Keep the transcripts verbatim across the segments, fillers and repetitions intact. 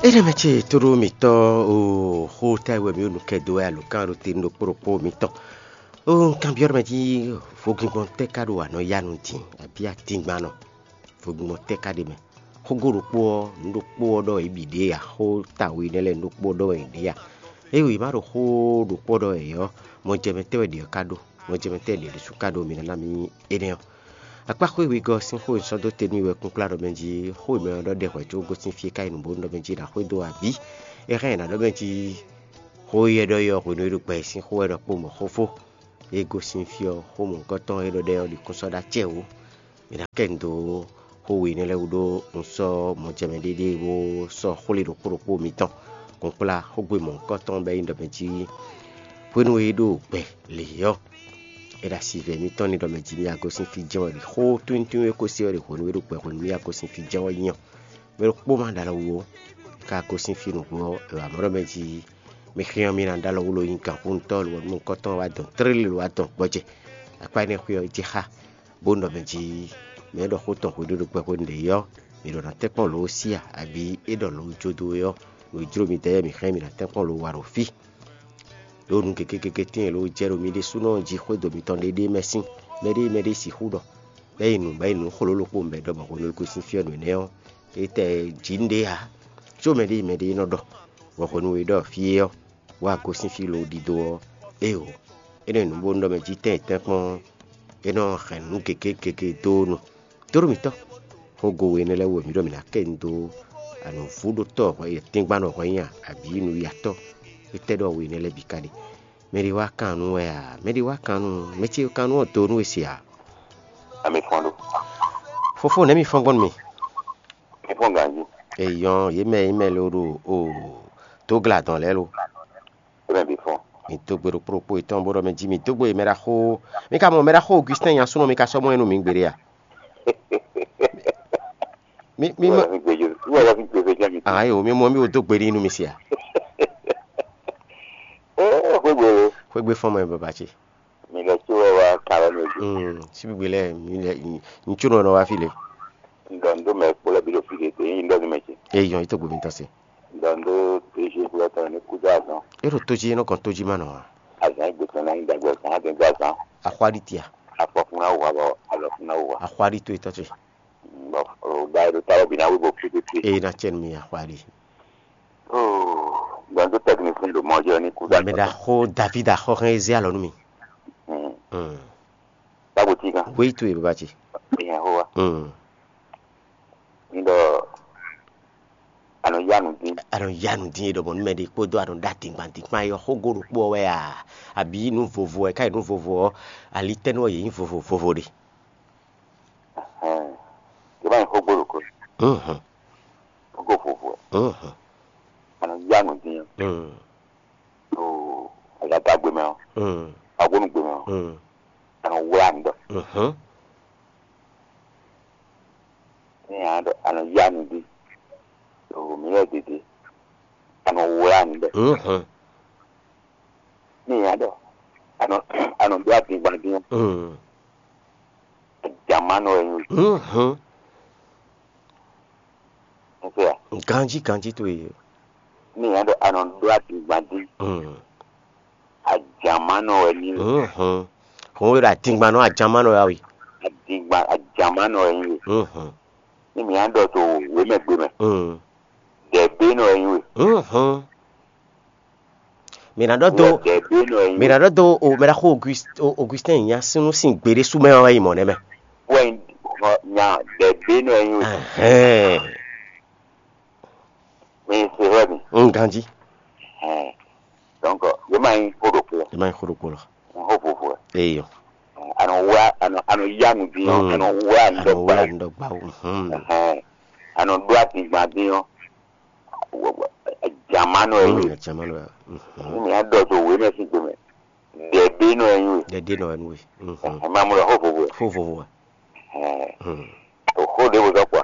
Énɛ́ mɛ ce tóɖó mǐtɔn o, xó táwe wɛ mǐ ɖo nǔ kɛ dó wɛ alǒkan ɖo te ɖokpó ɖokpó mǐtɔn. O, un kanbyɔ́ ɖɔ mɛ jí vodúngbɔn tɛ́ ka ɖo anɔ ya nu din, abǐ atíngban nɔ? Vodúngbɔn tɛ́ ka ɖe mɛ? Xógó ɖokpó ɔ́, nǔ ɖokpó ɔ́ ɖɔ yě bǐ ɖe ǎ, xó táwe nɛ́ lɛ́ɛ nǔ ɖokpó ɔ́ ɖɔ yě ɖe ǎ. Ée wě ma ɖo xó ɖokpó ɔ́ ɖɔ wɛ ɔ́, mɔjɛmɛ tɛ́ wɛ ɖě ɔ́ ka ɖó? Mɔjɛmɛ tɛ́ wɛ ɖě ɖésú ka ɖó? Mi ná ná mì énɛ́ ɔ́. Akpá xwé wegɔ́ ɔ́ sín xó e un sɔ́ dó te nú we wɛ kúnkplá ɖɔ mɛ jí xó e mɛ ɔ́ ɖɔ ɖɛ hwɛ̌ có gosín fí e ka yi nǔ bónú ɖɔ mɛ jí è nǎ xwedó abǐ? É hɛn è nǎ ɖɔ mɛ jí xó e é ɖɔ é ɔ́ hwenu e ɖo gbɛ e sín xó wɛ ɖɔkpó mɔ̌ xófó. É gosín fí ɔ́, xó mɔ̌hunkɔtɔn e é ɖɔ ɖɛ ɔ́ ɖi kún sɔ́ ɖó acɛ wǔ. Mi ná kɛ nu dó xó we énɛ́ lɛ́ɛ wú ɖó un sɔ́ mɔjɛmɛ ɖéɖée bó sɔ́ xwlé ɖokpó ɖokpó mitɔn kúnkplá xógbe mɔ̌hunkɔtɔn bɔ é nyí ɖɔ mɛ jí hwenu e é ɖo gbɛ lě ɔ́, è ɖo asivɛ mitɔn ní ɖɔ mɛ jí mì agosín fí jɛ́n wɛ ɖi xó tíntín e ko se ɔ́ ɖi hwenu e é ɖo gbɛ hwenu mì agosín fí jɛ́n wɛ nyí ɔ́. Mɛ ɖokpó ma ɖo alɔ wú ó, ká gosín fí nǔgbó ɔ́, è wǎ mɔ ɖɔ mɛ jí mi xyán mì ná ɖó alɔ wú lo nyí gǎnxónútɔ́ lo nukɔntɔn wá dɔn tlélí lo wá dɔn gbɔjɛ. Akpá énɛ́ xwé ɔ́ jɛ xá, bó nɔ mɛ jí mɛ e ɖɔ xó tɔn hweɖéɖo gbɛ hwenu ɖě ɔ́, mǐ ɖɔ ná tɛ́nkpɔ́n lǒ ó sí a, abǐ é ɖɔ lǒ ó jó dó é ɔ́, nǔ e jló mi dɛ́ mǐ xlɛ́ mǐ ná tɛ́nkpɔ́n lǒ wa ɖo fí. Ɖó nǔ gěgé gěgé tɛ́ntin e lǒ jɛ ɖo mi ɖésúnɔ jí xwédo mitɔn ɖéɖéé mɛ sín, mɛɖée mɛɖée sixú ɖɔ, bɔ é yi nǔ bɔ é yi nǔ xló ɖokpó bɔ é ɖɔ mɔ̌ hwenu e gosín fí ɔ́ nǔ énɛ́ ɔ́, é tɛ jǐ nǔɖé ǎ, có mɛɖée mɛɖée nɔ ɖɔ, bɔ hwenu e é ɖɔ fí é ɔ́, wá gosín fí lǒ ɖidó ɔ́, éeǒ, é nɔ nyi nǔ bónú ɖɔ mɛ jí tɛ́n e tɛ́nkpɔ́n ɔ́, é nɔ hɛn nǔ gěgé gěgé dó nu. Tóɖó mǐtɔn, xógo we énɛ́ lɛ́ɛ wú wɛ mǐ ɖɔ mǐ ná kɛ nyi dó anǔvúɖótɔ́ hwɛ tɛ́ngbannɔ hwɛ nyi a, abǐ nǔyatɔ́? Étɛ́ ɖɔ we énɛ́ lɛ́ɛ bǐ ka ɖe? Mɛ ɖé wá kan nú wɛ a? Mɛ ɖé wá kan nú mɛ ce kan nú ɔ́ do nú we se a? Ami fɔ́n ɖó. Fofó nɛ̌ mi fɔ́n gbɔn nú mi? Mi fɔ́n ganjí. Eyɔn, yě mɛ yě mɛ lo ɖo o dó gla dɔn lɛ́ɛ lo. Yě mɛ bǐ fɔ́n. Mi dó gbe ɖokpó ɖokpó yětɔn bó ɖɔ mɛ jí mi dó gbe mɛ ɖaxó. Mi ka mɔ mɛ ɖaxó Augustin nya súnɔ mi ka sɔ́ mɔ ɛ nú mi gbeɖé a? Mi mi mɔ. Wọ́n fi gbèjò wọ́n fi gbèjò jẹ́ mi. Ayi o, mi mɔ mi wo dó gbe nínú mi sia. Ee xwégbé lo. Xwégbé fɔn mɔ baba ce. Mi lɛ tí wọ́n wá kàrọ́ mi ojú. Hmm, síbi gbé lɛ mi lɛ ntsu nɔ wá fi le. Ŋdɔ ŋdó mɛ kpó lɛ bí ɖo fi le dé yín ŋdɔ ní mɛ ce. Eyɔn yi tó gbomi tán se. Ŋdɔ ŋdó déjé kpó lɛ tɔn ní kúdó azɔn. E ɖo tójí e nɔ kɔn tójí ma nɔ wa. Azɔn yi gbèsè náà yín dàgbà azɔn á dé gbà azɔn. Axwáɖí tia. Afɔ fún náà wà bɔ alɔ fún náà wà. Axwáɖí tó e tɔ́ ce. Bɔ o da e ɖo ta wɔ bi na wí bo fi fi. Eye na cɛn mi axwáɖí. Gbɔn tó technicien ɖo mɔ jɛ ní kú da. Mɛ ɖaxó David axɔxɛn e zé alɔ nú mi. Tábò tí kan. Wéyi tó e baba ce. Ìyẹn hó wa. Ní ɖɔ anɔ yá nu dín. Anɔ yá nu dín e ɖɔ mɔ nú mɛ ɖé kpódó anɔ ɖó atingban dín kpán yɔ xógó ɖokpó ɔ́ wɛ a? Abǐ nú vovo wɛ ká yi nú vovo ɔ́, alitɛ́nú ɔ́ yě nyí vovo vovo ɖe. Yě má nyí xógó ɖokpó. Xógó vovo wɛ. Anɔ yá nu dín ɔ́. Ɖo azadagbe mɛ ɔ́, agbónúgbe mɛ ɔ́, anɔ wlá nǔ ɖɔ. Ní a ɖɔ anɔ yá nǔ ɖi ɖo mǐ lɛ́ɛ ɖěɖě, anɔ wlá nǔ ɖɔ. Ní a ɖɔ anɔ anɔ ɖó adingban dín ɔ́, jamánɔ wɛ nyí. Ganjí ganjí towe. Ní a ɖɔ anɔ ɖó adingban dín. Ajamánɔ wɛ nyí we. Hɔn wé ɖo adingban nɔ ajamánɔ ya we. Adingban ajamánɔ wɛ nyí we. Ní mi á ɖɔ to wěmɛgbe mɛ. Dɛ̌bénɔ wɛ nyí we. Mǐ ná ɖɔ dó Dɛ̌bénɔ wɛ nyí mǐ we. Ná ɖɔ dó o mɛ ɖaxó August- o- Augustin nya sínú sín gbeɖé sú mɛ ɔ́ wɛ yi mɔ̌ nɛ́ mɛ. Wɛ nyí nya dɛ̌bénɔ wɛ nyí we. Ɛhɛn. Mi se hwɛ mi. N ganjí. Ɛhɛn. Donc yě ma nyí xó ɖokpó. Yě ma nyí xó ɖokpó lɔ. Xó vovo wɛ. Eyɔ. Anɔ wá anɔ anɔ yá nu dín ɔ́, anɔ wá anɔ wá anɔ ɖɔ gbá. Anɔ ɖɔ gbá o. Ɛhɛn. Anɔ ɖó adingban dín ɔ́. Jamánɔ ɛ yí. Jamánɔ ɛ. Ní mi á ɖɔ tó wé mɛ sín gbe mɛ. Dɛ̌bénɔ ɛ yí we. Dɛ̌bénɔ ɛ yí we. Ɛ má mú lɔ xó vovo wɛ. Xó vovo wɛ. Ɛ. Xó ɖěvo zɔ́ kpɔ́.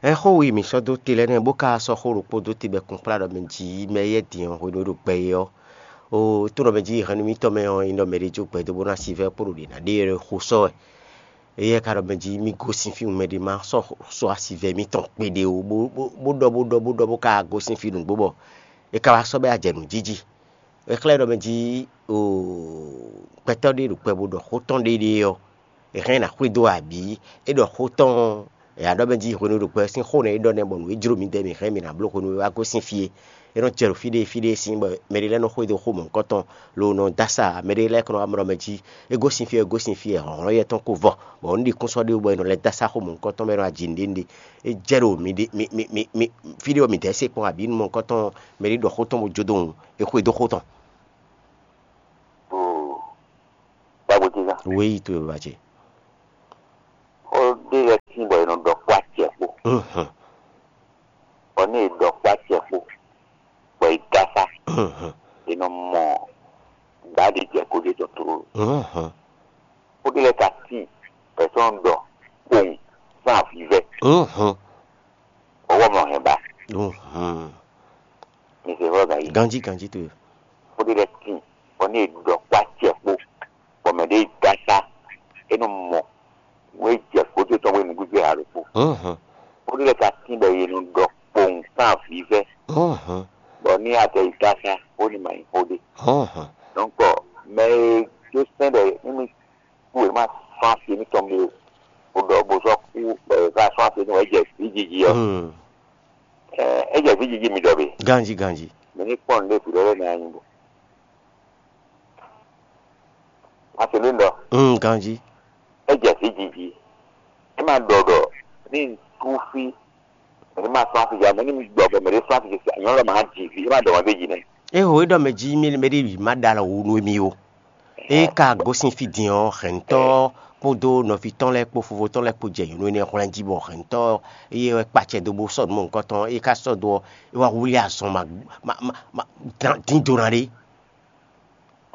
Ɛ xó wi mǐ sɔ́ dó te lɛ́ɛ nɛ́ bó ka sɔ́ xó ɖokpó dó te bɔ kplá ɖɔ mɛ jǐ mɛ yɛ din ɔ́ hwenu e ɖo gbɛ é ɔ́. O tó nɔ mɛ jí hɛn nú mítɔn mɛ ɔ́, nyí ɖɔ mɛ ɖé jó gbɛ dó bó ná si vɛ́ kpó ɖo ɖě ná ɖe xó sɔ́ wɛ. Éyɛ́ ka ɖɔ mɛ jí mì gosín fí mɛ ɖé má sɔ́ sɔ́ asivɛ mǐtɔn kpeɖé ó, bó bó bó ɖɔ bó ɖɔ bó ɖɔ bó ka gosín fí nǔgbó bɔ é ka wá sɔ́ bɔ é wá jɛ nǔ jí jí. É xlɛ́ ɖɔ mɛ jí gbɛtɔ́ ɖé ɖo kpɛ bó ɖɔ xó tɔn ɖéɖée ɔ́, è hɛn ná xwedó abǐ é ɖɔ xó tɔn ɔ́, è wǎ ɖɔ mɛ jí hwenu e ɖo kpɛ sín xó nɛ́ é ɖɔ nɛ́ bɔ nǔ e jló mǐdɛɛ mǐ hɛn mǐ ná bló hwenu e wá gosín fí é. É nɔ jɛ ɖo fí ɖé fí ɖé sín bɔ mɛ ɖé lɛ́ɛ nɔ xwedó xó mɔ̌hunkɔtɔn lobo nɔ dó asá, mɛ ɖé lɛ́ɛ ka nɔ wá mlɔ́ mɛ jí é gosín fí é, é gosín fí é, hlɔ̌nhlɔ́n yɛ́ tɔn ko vɔ, bɔ nǔ ɖi kún sɔ́ ɖé bɔ è nɔ lɛ́ dó asá xó mɔ̌hunkɔtɔn mɛ nɔ ajǐ nǔɖé nǔɖé. É jɛ ɖo mi ɖé mi mi mi mi fí ɖé ɔ́ mǐdɛɛ se kpɔ́n abǐ nú mɔ̌hunkɔtɔn mɛ ɖé ɖɔ xó tɔn bó jó dó wun, é xwedó xó tɔn. Gbagbo ce zán. Wéyi towe baba ce. Xó ɖé lɛ́ɛ tín bɔ è nɔ ɖɔ kpó acɛ kpó. Mhm. Bɔ nú è ɖɔ kpó acɛ kpó, bɔ è dó asá, Mhm. è nɔ mɔ gbǎɖi jɛ kó ɖé tɔn tlóló. Mhm. Xó ɖé lɛ́ɛ ka tín bɔ è sɔ́ nɔ ɖɔ kpowun sín avǐvɛ́. Mhm. Ɔwɔ mlɔ hɛn ba. Mhm. Mi se vɔ gayi. Ganji ganji towe. Xó ɖé lɛ́ɛ tín bɔ nú è ɖɔ kpó acɛ kpó, bɔ mɛ ɖé dó asá, é nɔ mɔ nú é jɛ kó ɖé tɔn bɔ é nǔgbígbé ha ɖokpó. Mhm. Xó ɖé lɛ́ɛ ka tín bɔ è nɔ ɖɔ kpowun sín avǐvɛ́. Mhm. Bɔ ní a tɛ yi dó asá, bó ní ma nyí xó ɖé. Mhm. Donc mɛ e dó sɛn ɖɔ émí kú e má sɔ́ asi émítɔn ɖé o, bó ɖɔ bó sɔ́ kú bɔ è ka sɔ́ asi émítɔn wɛ jɛ vǐ jiji ɔ́. Mm. Ɛ, é jɛ vǐ jiji mi ɖɔ be? Ganji ganji. Mi ní kpɔ́n nǔɖé vǐ lɛ́ɛ lɛ́ɛ ná nyi bo. Má se lé ɖɔ. Mm, ganji. É jɛ vǐ jiji. É má ɖɔ ɖɔ ní un tú fí, mɛ ní má sɔ́ asi ja, mɛ ní mi gbɔ bɔ mɛ ɖé sɔ́ asi ja, nyɔ̌nu lɔ má ji vǐ, é má ɖɔ wɛn ɖé ji nɛ. É ho é ɖɔ mɛ jí mɛ mɛ ɖé bǐ má ɖa alɔ wu nú émí ó. É ka gosín fí din ɔ́, hɛ̌ntɔ́ kpódó nɔví tɔn lɛ́ɛ kpó fofó tɔn lɛ́ɛ kpó jɛ nyɔ̌nu énɛ́ hwlɛ́n jí bɔ hɛ̌ntɔ́ ɔ́, é wɛ kpa acɛ dó bó sɔ́ nǔ mɔ̌hunkɔtɔn, é ka sɔ́ dó ɔ́, é wá wlí azɔn ma ma ma ma dín do ná ɖé.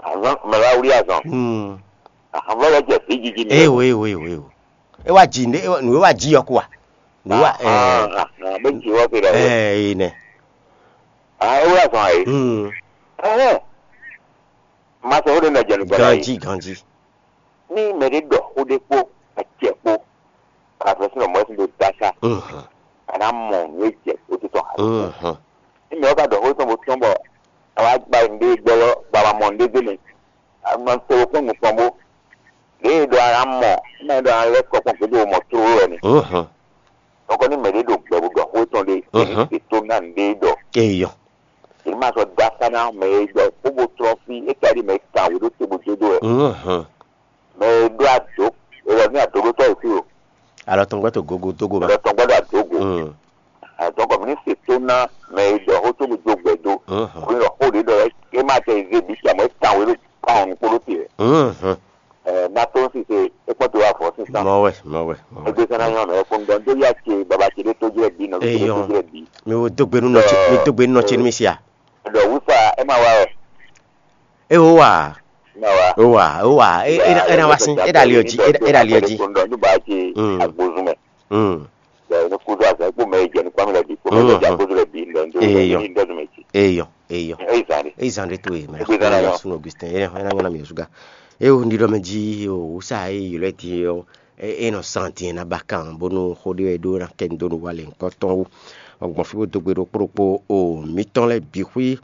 Azɔn mɛ wá wlí azɔn. Hmm. Azɔn vɔ lɛ jɛ vǐ jiji mi. Eyo eyo eyo eyo. É wá ji nǔ é wá ji ɔ́ kó wa. Nǔ wá Ahan, ahan, bó ji wɔ pe ɖɔ. Ɛ ɛ nɛ. Ah, é wlí azɔn ayi. Hmm. Ɛhɛn. Ma sɛ wo ɖe na jɛ nukpɛ la yi. Ganji ganji. Ní mɛ ɖé ɖɔ xó ɖé kpó acɛ kpó, afɛsúnɔ mɔ̌ sín ɖo dasa, Mhm. a nǎ mɔ nǔ e jɛ xó tɔn ǎ. Mhm. Ní mɛ ɔ́ ka ɖɔ xó tɔn bó tɔ́n bɔ a wá gba nǔɖé gbɔ lɔ, bɔ a ma mɔ nǔɖé gbé mɛ, a ma to kpɔ́n nukɔn bó. Lě e ɖɔ a nǎ mɔ, ní mɛ ɖɔ a lɛ́ kɔ kpɔ́n gǔdo mɔ tlóló wɛ ni. Mhm. Nukɔn ní mɛ ɖé ɖo gbɛ bó ɖɔ xó tɔn ɖé, Mhm. È tó ná nǔɖé ɖɔ. Eyɔ. Yě ma sɔ́ dó akpá ná mɛ e ɖɔ xó bó tlɔ́n fí, é ka ɖi mɛ e kan wě ɖó te bó dó dó wɛ. Mhm. Mɛ e ɖó ado, è ɖɔ ní adoɖótɔ́ wě fí o. Alɔ tɔn gbɛ́ to gogo dógo mɛ. È ɖɔ tɔn gbɛ́ ɖo adogo. Mm. Àdɔn kɔ mi ní se tó ná mɛ e ɖɔ xó tó bó dó gbɛ dó. Mhm. Kò ní ɖɔ xó ɖě ɖɔ é má tɛ zé bǐ tsa mɔ é kan wě ɖó kan ɔ́ nukpó ɖó te wɛ. Mhm. Ɛ, ná tó ń sise é kpɔ́n te wá fɔ sísan. Mɔ wɛ, mɔ wɛ, mɔ wɛ. Egbe sɛn ná nyɔ mɛ fún dɔn dó yá ce baba ce ɖé tó jɛ bí nɔ bí ce ɖé tó Eyɔn. Jɛ bí. Mi wo dó gbe nú nɔ ce, mi dó gbe nú nɔ ce nú mi sia. Ɖɔ wúsa é má wá wɛ. E wo wa. Má wá. O wa, o wa. E e na e na wá sí. E da liɔ jí. E da liɔ jí. Tó ń dɔn ní bá ce Mm. Agbózún mɛ. Mm. Bɛ ní kúdó àgbà kó mɛ jẹ ní kpámi lɛ bí kó mɛ jẹ Mm. Agbózún lɛ bí ndɔ ndó Eyɔn. Ní ndɔ mɛ jí. Eyɔn, eyɔn. Eyi zan de. Eyi zan de to ye mɛ. Egbe zan na Eyɔn yɔn. Sun Augustin. Eyɔn e na nyɔna mi osuga. E o ndi dɔ mɛ jí o wusa e yi lɛ ti o. E e nɔ san din na ba kan bónú xó ɖé wɛ ɖó ná kɛ nu dó nu wa lɛ ŋkɔ tɔn wú. Gbɔn fí bó dó gbe ɖokpó ɖokpó o mǐtɔn lɛ́ɛ bǐ xwí.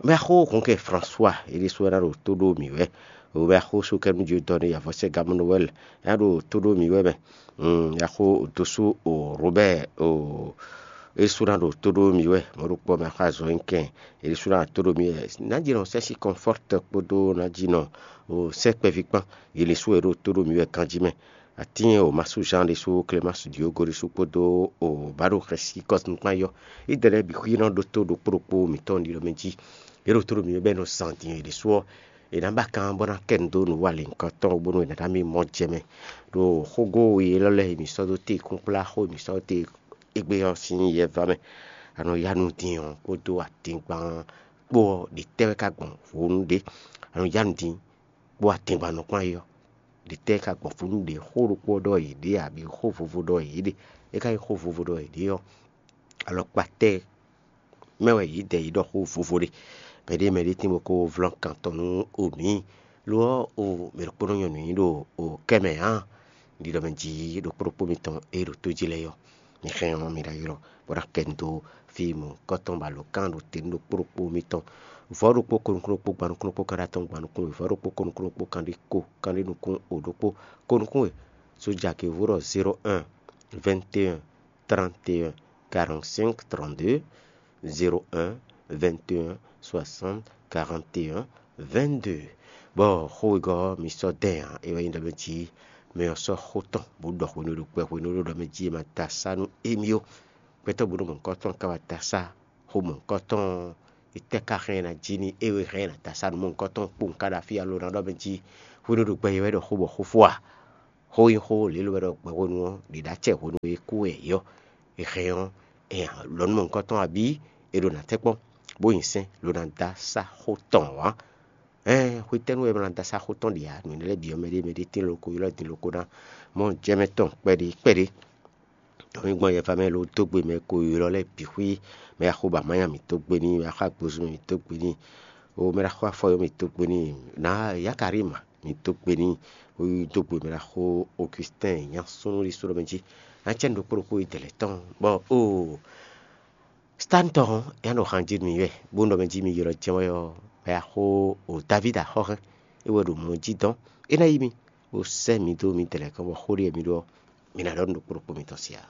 Mɛ xó hɔn kɛ François e ɖésú ná ɖo tó ɖó mǐ wɛ. O mɛ xó sú kɛ nú Dieu donné yavɔ sɛ gamu Noël ná ɖo tó ɖó mǐ wɛ mɛ. Mm, yaxó dosú o Robert o e sú ná ɖo tó ɖó mǐ wɛ. Mɔ̌ ɖokpó mɛ xó azɔn nyi kɛn e ɖésú ná ɖo tó ɖó mǐ wɛ. Ná jɛ nɔ sɛ́ si Comfort kpódó ná jɛ nɔ o sɛ́ kpɛví kpán. Yě lɛ́ sú e ɖo tó ɖó mǐ wɛ ganjí mɛ. Atín o Masu Jean ɖésú, Clémence Diogo ɖésú kpódó o Bado Xɛsi Cosme kpán yɔ. Ide lɛ́ɛ bǐ xwí nɔ ɖótó ɖokpó ɖokpó mǐtɔn ɖi ɖɔ mɛ jí. Yě ɖo tó ɖo mǐ bɛ́ nɔ zan din è ɖésú ɔ́, è nǎ ba kan bó ná kɛ nu dó nǔ wa lě ŋkɔ tɔn bónú è nǎ ɖo mì mɔ jɛ mɛ. Ɖo xógó we élɔ́ lɛ́ɛ è mǐ sɔ́ dó te kúnkplá xó è mǐ sɔ́ dó te égbé ɔ́ sín yɛ vá mɛ. A nɔ yá nu din ɔ́ kpódó atingban kpó ɔ́, ɖě tɛ́ wɛ ka gbɔn hwonu ɖě? A nɔ yá nu din kpó atingban nɔ kplán é ɔ́, ɖě tɛ́ ka gbɔn fínú ɖě xó ɖokpó ɔ́ ɖɔ yě ɖe abǐ xó vovo ɖɔ yě ɖe? É ka nyí xó vovo ɖɔ yě ɖe ɔ́, alɔkpa tɛ́ mɛ wɛ yě dɛ yě ɖɔ xó vovo ɖe? Mɛɖé mɛɖé tín bó kó vlɔ́n kan tɔn nú o mǐ, lo ɔ́, o mɛ ɖokpó nɔ nyɔ nǔ nyi ɖo o kɛ mɛ ǎ. ɖiɖɔ mɛ jí ɖokpó ɖokpó mitɔn e ɖo tó jí lɛ́ɛ ɔ́, mi hɛn ɔ́ mi ɖo ayɔ bó ná kɛ nu dó fí mɔ̌hunkɔtɔn bɔ alǒkan ɖo te nú ɖokpó ɖokpó mitɔn. Vɔ̌ ɖokpó, ko nukún ɖokpó, gban nukún ɖokpó, kanɖé atɔ́ɔ́n, gban nukún we, vɔ̌ ɖokpó, ko nukún ɖokpó, kanɖé ko, kanɖé nukún o ɖokpó, ko nukún we. Sójà ke vó ɖɔ zéro un, vingt et un, trente et un, quarante-cinq, trente-deux, zéro un, vingt et un, soixante, quarante et un, vingt-deux. Bɔ xó wegɔ́ ɔ́, mi sɔ́ dɛn ǎ, é wɛ nyí ɖɔ mɛ jí mɛ ɔ́ sɔ́ xó tɔn bó ɖɔ hwenu e ɖo kpɛ hwenu e ɖo ɖɔ mɛ jí è ma da asá nú émí ó. Gbɛtɔ́ bǔ nú mɔ̌hunkɔtɔn ka wá da asá xó mɔ̌hunkɔtɔn ɔ́, étɛ́ ka hɛn ɛ ná jí n'i é e hɛn ɛ ná da asá nú mɔ̌hunkɔtɔn kpowun ka ɖo afí alo ná ɖɔ mɛ jí hwenu e ɖo gbɛ é wɛ ɖɔ xó bɔ xó fó a? Xó nyí xó lě ló wɛ ɖɔ gbɛ hwenu ɔ́ ɖě ɖo acɛ hwenu e kú wɛ yě ɔ́, è hɛn ɔ́, è lɔ nú mɔ̌hunkɔtɔn abǐ è ɖo nǎ tɛ́ kpɔ́n, bó nyi sɛ́n lo ná da sá xó tɔn ǎ. Ɛ́n hwetɛ́nu wɛ è ma ná da sá xó tɔn ɖe ǎ? Nǔ énɛ́ lɛ́ɛ bǐ ɔ́, mɛɖé mɛɖé tín loko ylɔ́ din loko ná mɔ jɛmɛ tɔn kpɛɖé kpɛɖé. Mǐ gbɔn yɛfa mɛ lo dó gbe mɛ ko ylɔ́ lɛ́ɛ bǐ xwí, mɛ e axo ba manya mǐ dó gbe n'i, mɛ e axo agbozun mɛ mǐ dó gbe n'i, o mɛ e axo afɔyɔ mǐ dó gbe n'i, nǎ Yakarima mǐ dó gbe n'i, o yi dó gbe mɛ e axo Augustin nya súnnu ɖi só ɖɔ mɛ jí. Ná cɛ nu ɖokpó ɖokpó yi dɛ̌lɛ́ tɔn bɔ o Stantɔ́ hɔn, é nɔ han jí mi wɛ, bó nɔ mɛ jí mi ylɔ́ jɛ́n wɛ ɔ́, bɔ é wá xo o Davídi axɔ́ hɛn, é wɛ ɖo mɔ jí dɔn. É ná yí mi, bó sɛ́ mi dó mi tɛlɛ̌ kɔn bɔ xó ɖé mi ɖɔ ɔ́, mi ná ɖɔ nú ɖokpó ɖokpó mitɔn sí ǎ.